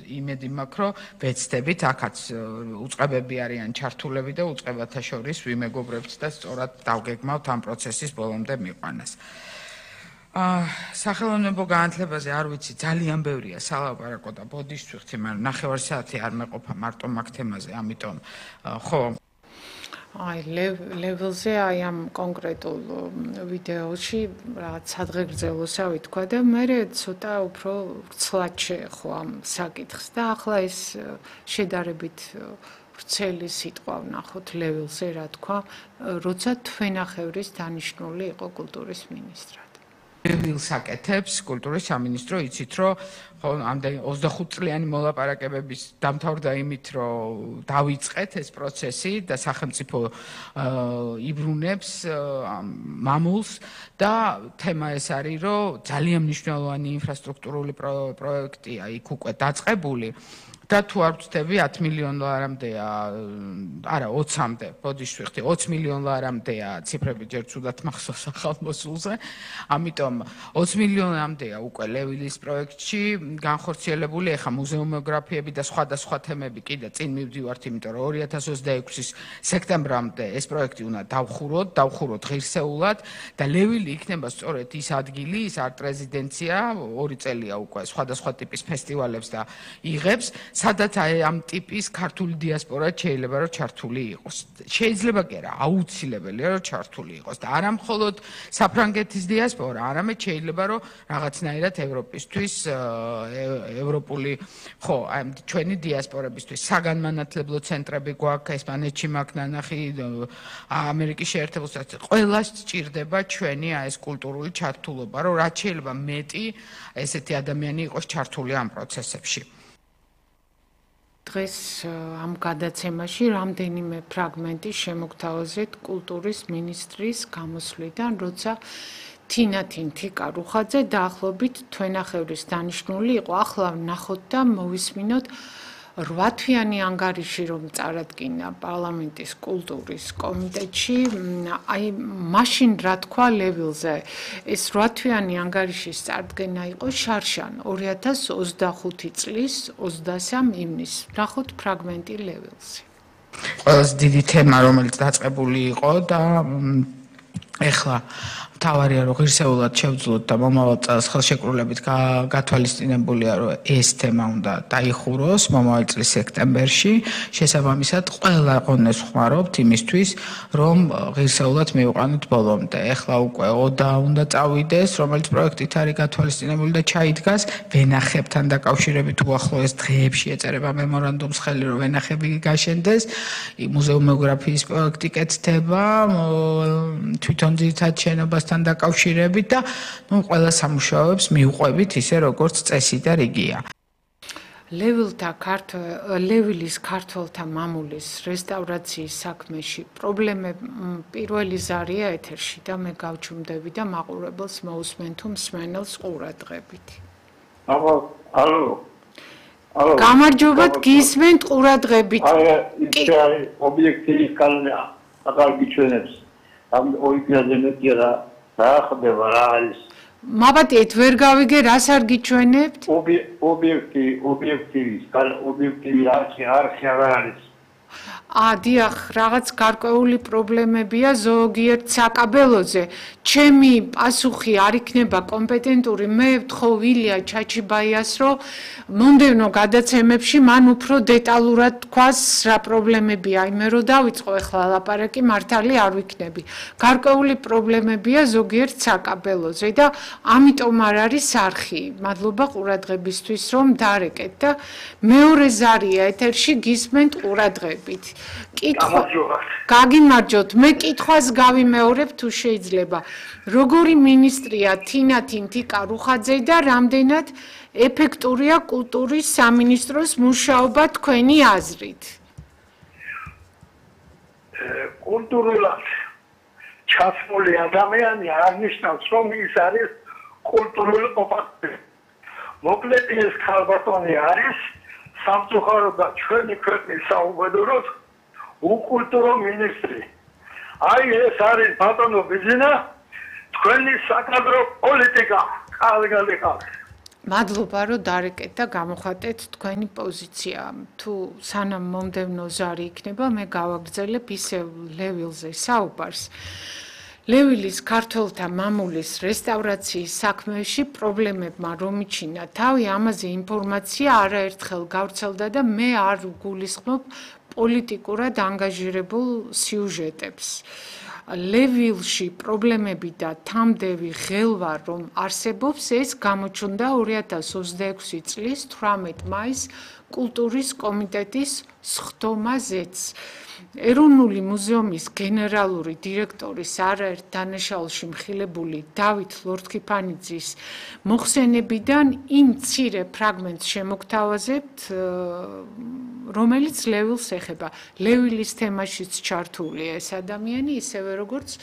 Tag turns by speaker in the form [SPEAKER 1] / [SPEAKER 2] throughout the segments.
[SPEAKER 1] იმედი მაქვს, რომ ვეცდებით, აქაც უწყებები არიან ჩართულები და უწყებათა შორის ვიმეგობრებთ და სწორად დავგეგმავთ ამ პროცესის ბოლომდე მიყვანას. სახელოვნებო განათლებაზე არ ვიცი, ძალიან ბევრია სალაპარაკო და ბოდიშს ვიხდი, მაგრამ 9 საათი არ მეყოფა მარტო მაგ თემაზე, ამიტომ ხო
[SPEAKER 2] level-ზე აი ამ კონკრეტულ ვიდეოში რაღაც სადღეგრძელოსავი თქვა და მე ცოტა უფრო ვრცლად შეეხო ამ საკითხს და ახლა ეს შედარებით ვრცელი სიტყვა ვნახოთ level-ზე რა თქვა, როცა თვენახევრის დანიშნული იყო კულტურის მინისტრად.
[SPEAKER 1] ლევილს აკეთებს კულტურის სამინისტრო, იცით რომ ამდენი 25 წლიანი მოლაპარაკებების დამთავრდა იმით, რომ დავიწყეთ ეს პროცესი და სახელმწიფო იბრუნებს მამულს და თემა ეს არის, რომ ძალიან მნიშვნელოვანი ინფრასტრუქტურული პროექტია იქ უკვე დაწყებული. და თუ არ ვწდები 10 მილიონ ლარამდეა, არა 20-მდე, ბოდიში ვიხდი, 20 მილიონ ლარამდეა ციფრები ჯერ ცუდად მახსოვს ახალმოსულზე. ამიტომ 20 მილიონამდეა უკვე ლევილის პროექტში განხორციელებული, ეხა მუზეუმოგრაფიები და სხვადასხვა თემები კიდე წინ მივდივართ, იმიტომ რომ 2026-ის სექტემბრამდე ეს პროექტი უნდა დავხუროთ ღირსეულად და ლევილი იქნება სწორედ ის ადგილი, ის არტ-რეზიდენცია, 2 წელია უკვე სხვადასხვა ტიპის ფესტივალებს და იღებს. სადაც ამ ტიპის ქართული დიასპორა შეიძლება რომ ჩართული იყოს. შეიძლება კი არა, აუცილებელია რომ ჩართული იყოს და არა მხოლოდ საფრანგეთის დიასპორა, არამედ შეიძლება რომ რაღაცნაირად ევროპისთვის, ევროპული, ხო, აი ჩვენი დიასპორებისთვის საგანმანათლებლო ცენტრები გვაქვს, ესპანეთში მაქვს ნანახი, ამერიკის შეერთებულ შტატებში, ყველას სჭირდება ჩვენი ეს კულტურული ჩართულობა, რომ რაც შეიძლება მეტი ესეთი ადამიანი იყოს ჩართული ამ პროცესებში.
[SPEAKER 2] დღეს ამ გადაცემაში რამდენიმე ფრაგმენტი შემოგთავაზეთ კულტურის მინისტრის გამოსვლიდან, როცა თინათინ თიკარუხაძე დაახლოებით თვენახევრის დანიშნული იყო. ახლა ვნახოთ და მოვისმინოთ 8 თვიანი ანგარიში, რომ წარადგინა პარლამენტის კულტურის კომიტეტში, აი მაშინ რა თქვა ლევილზე. ეს 8 თვიანი ანგარიშის წარდგენა იყო შარშან 2025 წლის 23 ივნისს. ვნახოთ ფრაგმენტი ლევილზე.
[SPEAKER 1] ყველაზე დიდი თემა, რომელიც დაწყებული იყო და ეხლა თავარია რომ ღირსეულად შევძლოთ და მომავალ წელს ხელშეკრულებით გათვალისწინებულია რომ ეს თემა უნდა დაიხუროს მომავალ წლის სექტემბერში. შესაბამისად ყველა ყონეს ხმარობთ იმისთვის რომ ღირსეულად მივყვანოთ ბოლომდე. ეხლა უკვე ოდა უნდა წავიდეს, რომელიც პროექტით არის გათვალისწინებული და ჩაიდგას ვენახებთან დაკავშირებით უახლოეს დღეებში ეწერება მემორანდუმს ხელი რომ ვენახები გაშენდეს. მუზეუმოგრაფიის პროექტი კეთდება, თვითონ ძირითად შენობასთან დაკავშირებით და ყველა სამუშაოებს მიუყვებით ისე როგორც წესი და რიგია.
[SPEAKER 2] ლევილის ქართველთა მამულის რესტავრაციის საქმეში პრობლემები პირველი ზარია ეთერში და მე გავჩუმდები და მაყურებელს მოусმენ თუ მსმენელს ყურადღებით.
[SPEAKER 3] ალო.
[SPEAKER 2] გამარჯობა, გისმენთ ყურადღებით.
[SPEAKER 3] აი, ობიექტივის კანონია, აკალბი ჩვენებს. ამ ოიქიაზე მეტია რა ხდება რა არის
[SPEAKER 2] მაბატიეთ ვერ გავიგე რას არ გიჩვენებთ
[SPEAKER 3] ობიექტივის არქი არ არის
[SPEAKER 2] დიახ რაღაც გარკვეული პრობლემებია ზოგიერთ საკაბელოზე ჩემი პასუხი არ იქნება კომპეტენტური მე ვთხოვ ილია ჩაჩიბაიას რომ მომდევნო გადაცემებში მან უფრო დეტალურად თქვას რა პრობლემებია იმე რომ დავიწყო ახლა ლაპარაკი მართალი არ ვიქნები გარკვეული პრობლემებია ზოგიერთ საკაბელოზე და ამიტომ არ არის არხი მადლობა ყურადღებისთვის რომ დარეკეთ და მეორე ზარია ეთერში გისმენთ ყურადღებით გაგიმარჯოთ მე კითხვას გავიმეორებ თუ შეიძლება როგორი მინისტრია თინათინ თიკარუხაძე და რამდენად ეფექტურია კულტურის სამინისტროს მუშაობა თქვენი აზრით
[SPEAKER 3] კულტურულად ჩასული ადამიანი აღნიშნავს რომ ის არის კულტურული ყოფილი მოკლედ ეს ქალბატონი არის სამწუხარო და ჩვენი ქვეყნის საუბედუროდ უკულტურო მინისტრი. აი ეს არის ბატონო ბიზინა, თქვენი საკადრო პოლიტიკა. კარგად.
[SPEAKER 2] მადლობა რომ დარეკეთ და გამოხატეთ თქვენი პოზიცია. თუ სანამ მომდევნო ზარი იქნება, მე გავაგრძელებ ისევ ლევილზე საუბარს. ლევილის ქართველთა მამულის რესტავრაციის საქმეში პრობლემებმა რომ იჩინა თავი, ამაზე ინფორმაცია არაერთხელ გავრცელდა და მე არ გულისხმობ პოლიტიკურად ანგაჟირებულ სიუჟეტებს. ლევილში პრობლემები და თამდევი ღელვა რომ არსებობს, ეს გამოჩნდა 2026 წლის 18 მაისს კულტურის კომიტეტის სხდომაზეც. ეროვნული მუზეუმის გენერალური დირექტორის არაერთ დანაშაულში მხილებული დავით ლორთქიფანიძის მოხსენებიდან იმ მცირე ფრაგმენტს შემოგთავაზებთ, რომელიც ლევილს ეხება. ლევილის თემაშიც ჩართულია ეს ადამიანი, ისევე როგორც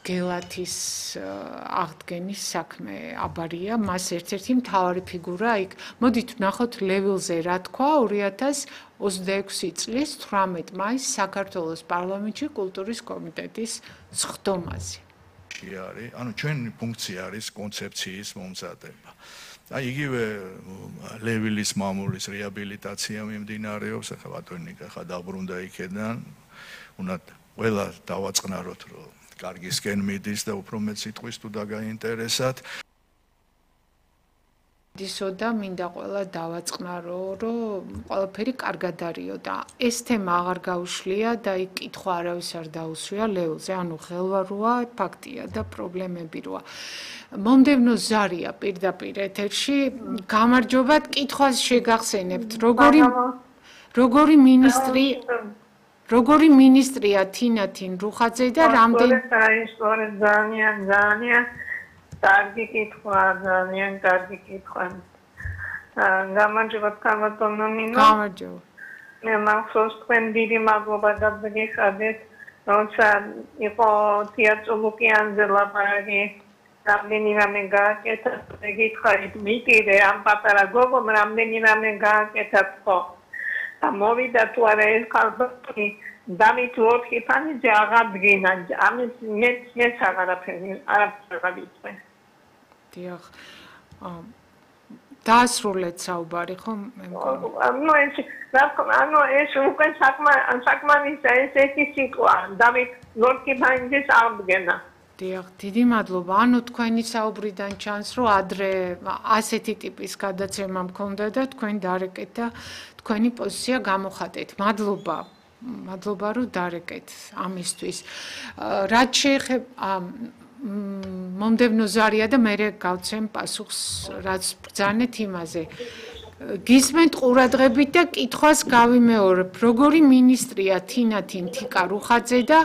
[SPEAKER 2] გელათის აღდგენის საქმე აბარია, მას ერთ-ერთი მთავარი ფიგურა იქ. მოდით ვნახოთ ლევილზე რა თქვა 2026 წლის 18 მაისს საქართველოს პარლამენტში კულტურის კომიტეტის სხდომაზე.
[SPEAKER 4] არის, ანუ ჩვენი ფუნქცია არის კონცეფციის მომზადება. აი იგივე ლევილის მამულის რეაბილიტაცია მიმდინარეობს, ახლა ბატონიკა ხა დაბრუნდა იქიდან, უნდა ყველა დავაწყნაროთ, რომ კარგისკენ მიდის და უფრო მეტ სიტყვის თუ დაგაინტერესათ.
[SPEAKER 2] დისო და მინდა ყველა დავაწყნარო, რომ ყველაფერი კარგად არისო და ეს თემა აღარ გაუშლია და იქ კითხვა არავის არ დაუსვია ლევილზე, ანუ ღელვა როა, ფაქტია და პრობლემები როა. მომდევნო ზარია პირდაპირ ეთერში, გამარჯობათ, კითხვას შეგახსენებთ, როგორი მინისტრია თინა რუხაძე და რამდენი
[SPEAKER 5] ძალიან კარგი კითხვა, ძალიან კარგი კითხვა. გამარჯობათ, ქალბატონო ნინო.
[SPEAKER 2] გამარჯობა.
[SPEAKER 5] მე მახსოვს თქვენ დიდი მადლობა დაგიხადეთ, როცა იყო თეატრო ლუკიანზე ლაპარაკი, რამდენი რამე გააკეთა, გითხარით მიტირე ამ პატარა გოგომ რამდენი რამე გააკეთათ ხო. და მოვიდა თუ არა ეს ქალბატონი დავით ლორთქიფანიძე აღადგინა, ამის მეც აღარაფერი ვიტყვი.
[SPEAKER 2] დიახ. დაასრულეთ საუბარი ხო?
[SPEAKER 5] ანუ ეს უკვე საკმარისია, ეს ერთი სიტყვა, დავით ლორთქიფანიძეს აღდგენა.
[SPEAKER 2] დიახ, დიდი მადლობა. ანუ თქვენი საუბრიდან ჩანს, რომ ადრე ასეთი ტიპის გადაცემა მქონდა და თქვენ დარეკეთ და თქვენი პოზიცია გამოხატეთ. მადლობა. მადლობა რომ დარეკეთ ამისთვის. რაც შეეხება მომდევნო ზარია და მე გავცემ პასუხს, რაც ბრძანეთ იმაზე. გისმენთ ყურადღებით და კითხვას გავიმეორებ, როგორი მინისტრია თინა თიკა რუხაძე და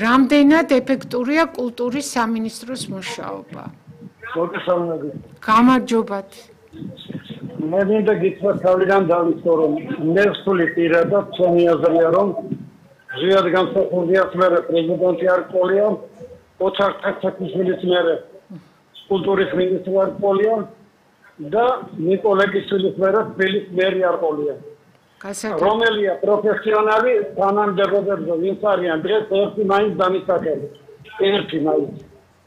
[SPEAKER 2] რამდენად ეფექტურია კულტურის სამინისტროს მუშაობა. გამარჯობათ.
[SPEAKER 3] მე მინდა გითხრათ თავიდან დავიწყო, რომ მე ვსული პირადად ჩემი აზრია, რომ ზიად გამსახურდია მერე პრეზიდენტი არ ყოლია, ოთარ თაქთაქიშვილის მერე კულტურის მინისტრი არ ყოლია და ნიკოლაკიშვილის მერე თბილისის მერი არ ყოლია. რომელია პროფესიონალი თანამდებობებზე ვინც არიან დღეს ერთი მაინც დამისახელი. ერთი მაინც.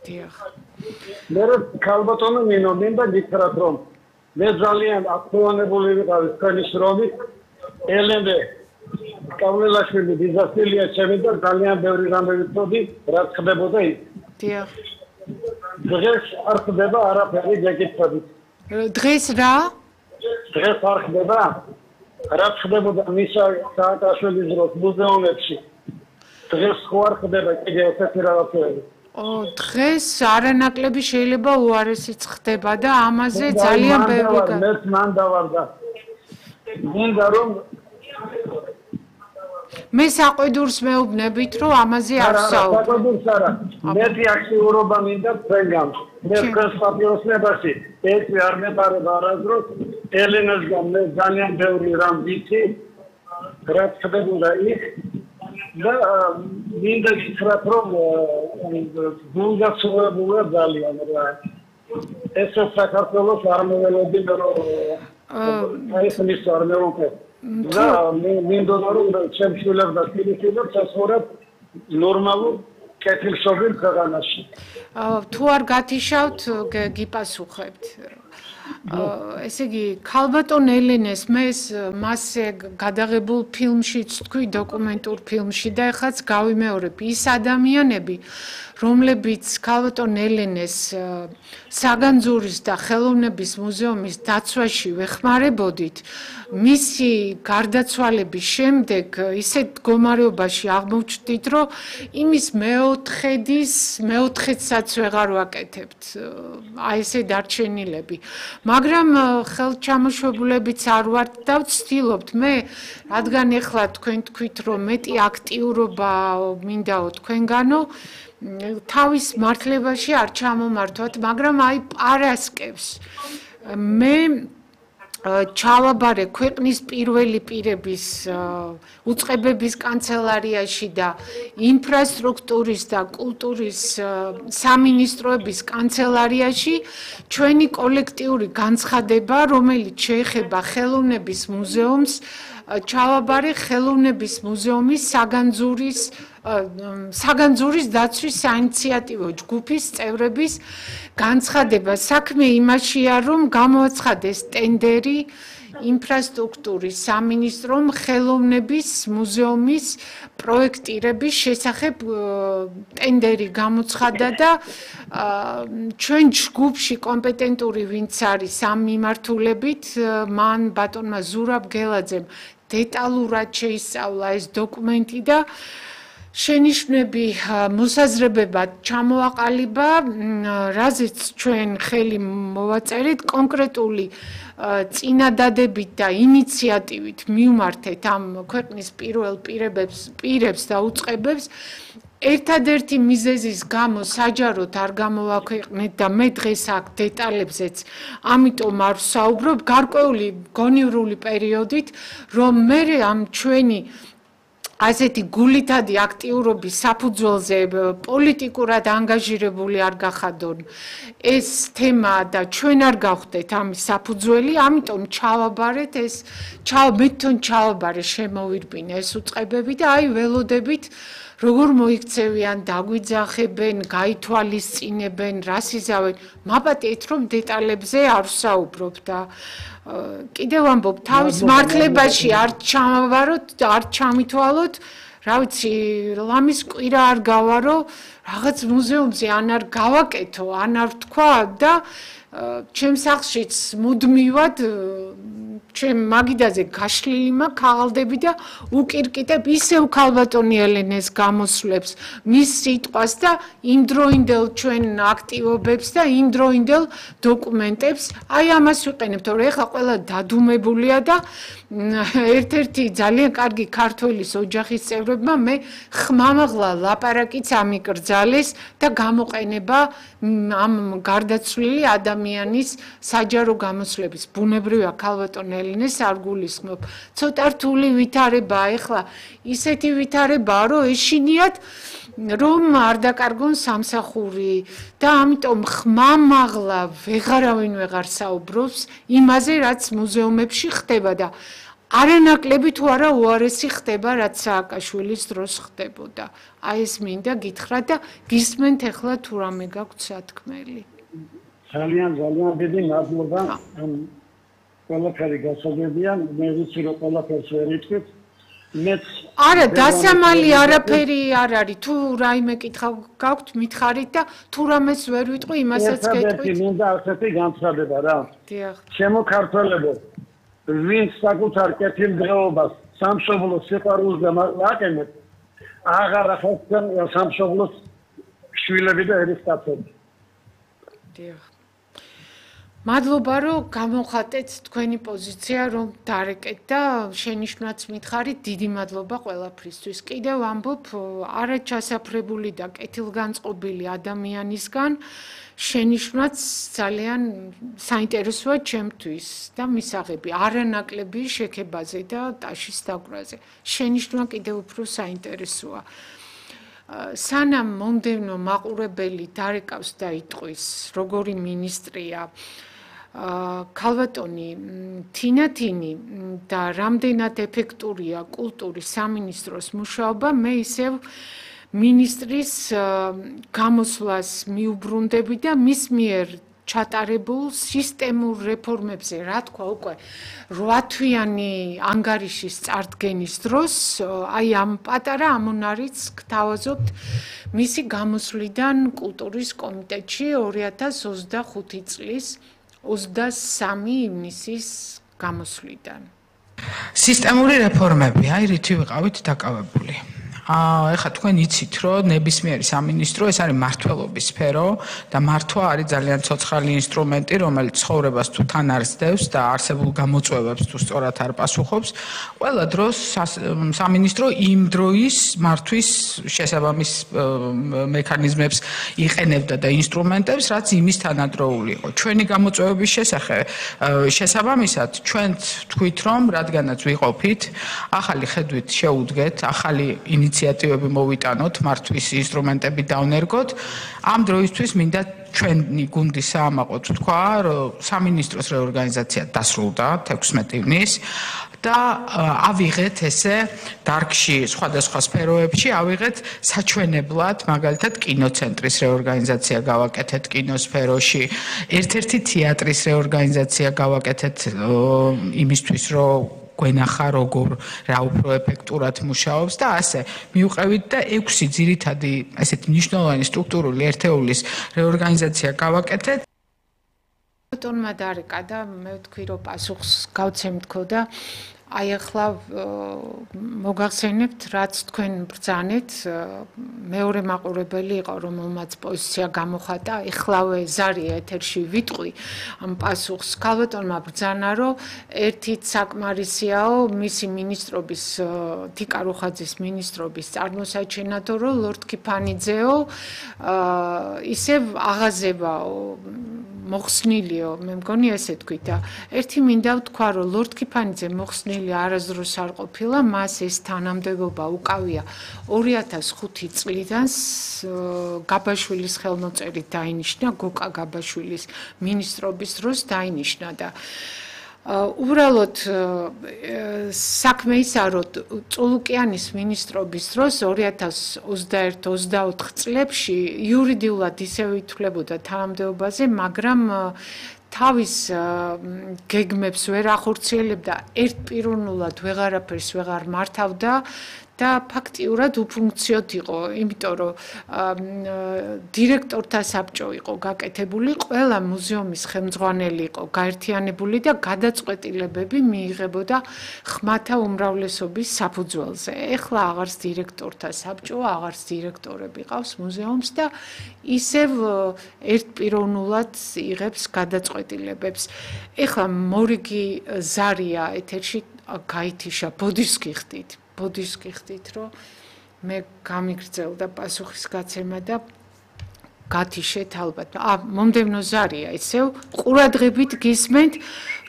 [SPEAKER 2] დიახ.
[SPEAKER 3] მე ქალბატონო ნინო მინდა გითხრათ, რომ მე ძალიან აქტუალებული ვიყავი თქვენი შრომით, ელენე კავლელაშვილი დიზასტილია ჩემი და ძალიან ბევრი რამე ვიცოდი, რაც ხდებოდა იქ.
[SPEAKER 2] დიახ.
[SPEAKER 3] დღეს არ ხდება არაფერი გეკითხებით.
[SPEAKER 2] დღეს რა?
[SPEAKER 3] დღეს არ ხდება. რაც ხდებოდა მისა სააკაშვილის დროს მუზეუმებში. დღეს ხო არ ხდება კიდე ესეთი რაღაცები.
[SPEAKER 2] დღეს არანაკლები შეიძლება უარესიც ხდება და ამაზე ძალიან ბევრი
[SPEAKER 3] მეც მან დავარდა. მინდა რომ
[SPEAKER 2] მე საყვედურს მეუბნებით, რომ ამაზე არ ვსაუბრობ.
[SPEAKER 3] საყვედურს არა. მეტი აქტიურობა მინდა თქვენგან. მე თქვენს პატიოსნებაში ეს არ მეტარება არასდროს. ელენასგან მე ძალიან ბევრი რამ ვიცი. რაც ხდებოდა იქ და მინდა გითხრათ, რომ გულგაცრუებულა ძალიან რა. ეს საქართველოს არ მოველოდი, რომ ეს მის არ მოვუკე. და მინდა რომ ჩემ შვილებს და ფილიპინებს ასწორებ ნორმალურ კეთილშობილ ქვეყანაში.
[SPEAKER 2] თუ არ გათიშავთ, გიპასუხებთ. ესე იგი ქალბატონ ელენეს მე მასზე გადაღებულ ფილმშიც თქვი დოკუმენტურ ფილმში და ეხლაც გავიმეორებ ის ადამიანები რომლებიც ქალბატონ ელენეს საგანძურის და ხელოვნების მუზეუმის დაცვაში ვეხმარებოდით მისი გარდაცვალების შემდეგ ისეთ მდგომარეობაში აღმოჩნდით რომ იმის მეოთხედსაც ვეღარ ვაკეთებთ აი ესე დარჩენილები მაგრამ ხელჩამოშვებულებიც არ ვართ და ვცდილობთ მე რადგან ეხლა თქვენ თქვით რომ მეტი აქტიურობა მინდაო თქვენგანო თავის მართლებაში არ ჩამომართვათ მაგრამ აი პარასკევს მე ჩავაბარე ქვეყნის პირველი პირების უწყებების კანცელარიაში და ინფრასტრუქტურის და კულტურის სამინისტროების კანცელარიაში ჩვენი კოლექტიური განცხადება რომელიც შეეხება ხელოვნების მუზეუმს ჩავაბარე ხელოვნების მუზეუმის საგანძურის დაცვის საინიციატივო ჯგუფის წევრების განცხადება საქმე იმაშია რომ გამოაცხადეს ტენდერი ინფრასტრუქტურის სამინისტრომ ხელოვნების მუზეუმის პროექტირების შესახებ ტენდერი გამოცხადა და ჩვენ ჯგუფში კომპეტენტური ვინც არის ამ მიმართულებით მან ბატონმა ზურაბ გელაძემ დეტალურად შეისწავლა ეს დოკუმენტი და შენიშვნები მოსაზრებებად ჩამოაყალიბა რაზეც ჩვენ ხელი მოვაწერეთ კონკრეტული წინადადებით და ინიციატივით მივმართეთ ამ ქვეყნის პირველ პირებს და უწყებებს ერთადერთი მიზეზის გამო საჯაროდ არ გამოვაქვეყნეთ და მე დღეს აქ დეტალებზეც ამიტომ არ ვსაუბრობ გარკვეული გონივრული პერიოდით რომ მე ამ ჩვენი ასეთი გულითადი აქტიურობის საფუძველზე პოლიტიკურად ანგაჟირებული არ გახადონ ეს თემა და ჩვენ არ გავხდეთ ამის საფუძველი ამიტომ ჩავაბარეთ ეს მე თვითონ ჩავაბარე შემოვირბინე ეს უწყებები და აი ველოდებით როგორ მოიქცევიან დაგვიძახებენ გაითვალისწინებენ რას იზავენ მაპატიეთ რომ დეტალებზე არ ვსაუბრობ და კიდევ ამბობ თავის მართლებაში არ ჩამავაროთ არ ჩამითვალოთ რა ვიცი ლამის კვირა არ გავარო რაღაც მუზეუმზე ან არ გავაკეთო ან არ ვთქვა და ჩემ სახლშიც მუდმივად ჩემ მაგიდაზე გაშლილი მაქვს ქაღალდები და უკირკიტებ ისევ ქალბატონი ელენეს გამოსვლებს მის სიტყვას და იმდროინდელ ჩვენ აქტივობებს და იმდროინდელ დოკუმენტებს აი ამას ვიყენებთ რომ ეხლა ყველა დადუმებულია და ერთ-ერთი ძალიან კარგი ქართველის ოჯახის წევრებმა მე ხმამაღლა ლაპარაკიც ამიკრძალეს და გამოყენება ამ გარდაცვლილი ადამიანის საჯარო გამოსვლების ბუნებრივია ქალბატონ ელენეს არ გულისხმობ ცოტა რთული ვითარებაა ეხლა ისეთი ვითარებაა რომ ეშინიათ რომ არ დაკარგონ სამსახური და ამიტომ ხმამაღლა ვეღარავინ ვეღარ საუბრობს იმაზე რაც მუზეუმებში ხდება და არანაკლები თუ არა უარესი ხდება რაც სააკაშვილის დროს ხდებოდა აი ეს მინდა გითხრათ და გისმენთ ეხლა თუ რამე გაქვთ სათქმელი
[SPEAKER 3] ძალიან დიდი მადლობა ყველაფერი გასაგებია მე ვიცი რომ ყველაფერს ვერ იტყვით
[SPEAKER 2] არა დასამალი არაფერი არ არის თუ რაიმე კითხვა გაქვთ მითხარით და თუ რამეს ვერ ვიტყვი იმასაც გეტყვით
[SPEAKER 3] მინდა ასეთი განცხადება რა
[SPEAKER 2] დიახ
[SPEAKER 3] შემოქართველებო ვინც საკუთარ კეთილდღეობას სამშობლოს სიყვარულს გამაყენებს აღარ ახერხებენ სამშობლოს შვილები და ერისკაცები
[SPEAKER 2] დიახ მადლობა რომ გამოხატეთ თქვენი პოზიცია რომ დარეკეთ და შენიშვნაც მითხარით დიდი მადლობა ყველაფრისთვის კიდევ ამბობ არაჩასაფრებული და კეთილგანწყობილი ადამიანისგან შენიშვნაც ძალიან საინტერესოა ჩემთვის და მისაღები არანაკლები შექებაზე და ტაშის დაკვრაზე შენიშვნა კიდევ უფრო საინტერესოა სანამ მომდევნო მაყურებელი დარეკავს და იტყვის როგორი მინისტრია ქალბატონი თინათინი და რამდენად ეფექტურია კულტურის სამინისტროს მუშაობა მე ისევ მინისტრის გამოსვლას მიუბრუნდები და მის მიერ ჩატარებულ სისტემურ რეფორმებზე, რა თქვა უკვე 8 თვიანი ანგარიშის წარდგენის დროს, აი ამ პატარა ამონარიც გთავაზობთ მისი გამოსვლიდან კულტურის კომიტეტში 2025 წლის 23 ივნისის გამოსვლიდან.
[SPEAKER 1] სისტემური რეფორმები, აი რითი ვიყავით დაკავებული. ეხლა თქვენ იცით, რომ ნებისმიერი სამინისტრო ეს არის მმართველობის სფერო და მართვა არის ძალიან ცოცხალი ინსტრუმენტი, რომელიც ცხოვრებას თუ თან არ სდევს და არსებულ გამოწვევებს თუ სწორად არ პასუხობს, ყველა დროს სამინისტრო იმ დროის მართვის შესაბამის მექანიზმებს იყენებდა და ინსტრუმენტებს, რაც იმის თანადროული იყო. ჩვენი გამოწვევების შესაბამისად ჩვენ თქვით, რომ რადგანაც ვიყოფით, ახალი ხედვით შეუდგეთ, ახალი ინიციატივები მოვიტანოთ, მართვის ინსტრუმენტები დავნერგოთ. ამ დროისთვის მინდა ჩვენი გუნდის საამაყოდ თქვა, რომ სამინისტროს რეორგანიზაცია დასრულდა 16 ივნისს და ავიღეთ ესე დარგში სხვადასხვა სფეროებში ავიღეთ საჩვენებლად, მაგალითად კინოცენტრის რეორგანიზაცია გავაკეთეთ კინოსფეროში, ერთ-ერთი თეატრის რეორგანიზაცია გავაკეთეთ იმისთვის, რომ გვენახა როგორ რა უფრო ეფექტურად მუშაობს და ასე მიუყევით და 6 ძირითადი ესეთი მნიშვნელოვანი სტრუქტურული ერთეულის რეორგანიზაცია გავაკეთეთ.
[SPEAKER 2] ბატონმა დარეკა და მე ვთქვი რომ პასუხს გავცემთქო და აი ახლა მოგახსენებთ რაც თქვენ ბრძანეთ მეორე მაყურებელი იყო რომელმაც პოზიცია გამოხატა ეხლავე ზარია ეთერში ვიტყვი ამ პასუხს ქალბატონმა ბრძანა რომ ერთით საკმარისიაო მისი მინისტრობის თიკა რუხაძის მინისტრობის წარმოსაჩენათო რომ ლორდ კიფანიძეო ისევ აღაზევაო მოხსნილიო მე მგონი ესე თქვი და ერთი მინდა ვთქვა რომ ლორდ კიფანიძე მოხსნილი არასდროს არ ყოფილა მას ეს თანამდებობა უკავია 2005 წლიდან გაბაშვილის ხელმოწერით დაინიშნა გოკა გაბაშვილის მინისტრობის დროს დაინიშნა და უბრალოდ საქმე ისა რომ წულუკიანის მინისტრობის დროს 2021-24 წლებში იურიდიულად ისევ ითვლებოდა თანამდებობაზე, მაგრამ თავის გეგმებს ვერ ახორციელებდა, ერთპიროვნულად ვეღარაფერს ვეღარ მართავდა და ფაქტიურად უფუნქციოდ იყო, იმიტომ რომ დირექტორთა საბჭო იყო გაკეთებული, ყველა მუზეუმის ხელმძღვანელი იყო გაერთიანებული და გადაწყვეტილებები მიიღებოდა ხმათა უმრავლესობის საფუძველზე. ეხლა აღარც დირექტორთა საბჭო, აღარც დირექტორები ყავს მუზეუმს და ისევ ერთპიროვნულად იღებს გადაწყვეტილებებს. ეხლა მორიგი ზარია ეთერში გაითიშა ბოდიშს გიხდით. ბოდიშს გიხდით, რომ მე გამიგრძელდა პასუხის გაცემა და გათიშეთ ალბათ. მომდევნო ზარია, ისევ ყურადღებით გისმენთ,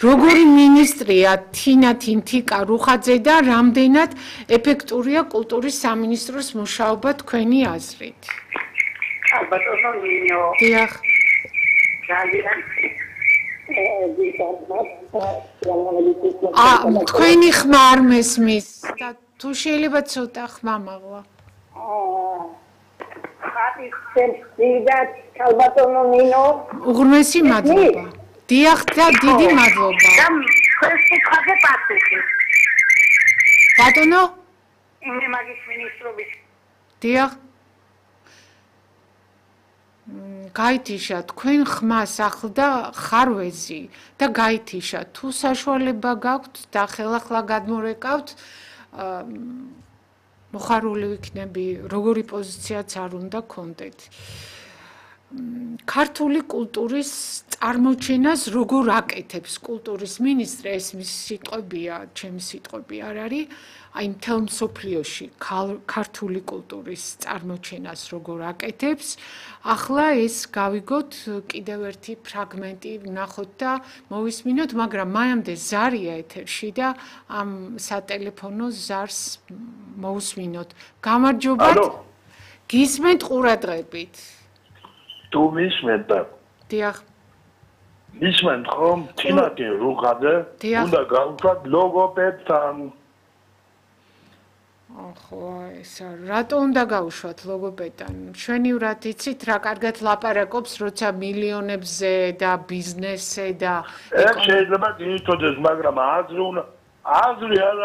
[SPEAKER 2] როგორი მინისტრია თინათინთიკა რუხაძე და რამდენად ეფექტურია კულტურის სამინისტროს მუშაობა თქვენი აზრით.
[SPEAKER 5] ალბათ ოზონინო.
[SPEAKER 2] დიახ. თქვენი ხმა არ მესმის და თუ შეიძლება ცოტა ხმა მაღლა. უღრმესი მადლობა. დიახ და დიდი მადლობა. ბატონო?
[SPEAKER 5] მე მაგის მინისტრობის.
[SPEAKER 2] დიახ. გაითიშა თქვენ ხმას ახლდა ხარვეზი და გაითიშა თუ საშუალება გაქვთ და ხელახლა გადმორეკავთ მოხარული ვიქნები როგორი პოზიციაც არ უნდა გქონდეთ ქართული კულტურის წარმოჩენას როგორ აკეთებს კულტურის მინისტრი ეს მის სიტყვებია ჩემი სიტყვები არ არის აი მთელ მსოფლიოში ქართული კულტურის წარმოჩენას როგორ აკეთებს ახლა ეს გავიგოთ კიდევ ერთი ფრაგმენტი ვნახოთ და მოვისმინოთ მაგრამ მანამდე ზარია ეთერში და ამ სატელეფონო ზარს მოვისმინოთ გამარჯობათ გისმენთ ყურადღებით
[SPEAKER 6] თუ მისმენთ
[SPEAKER 2] დიახ
[SPEAKER 6] მისმენთ ხომ თინათინ რუხაძე უნდა გავუშვათ ლოგოპედთან
[SPEAKER 2] ხო, ესა რატო უნდა გავუშვათ ლოგოპედთან? ჩვენივრად იცით რა კარგად ლაპარაკობს, როცა მილიონებზე და ბიზნესზე და
[SPEAKER 6] ეს შეიძლება გითხოვდეს, მაგრამ აზრი არ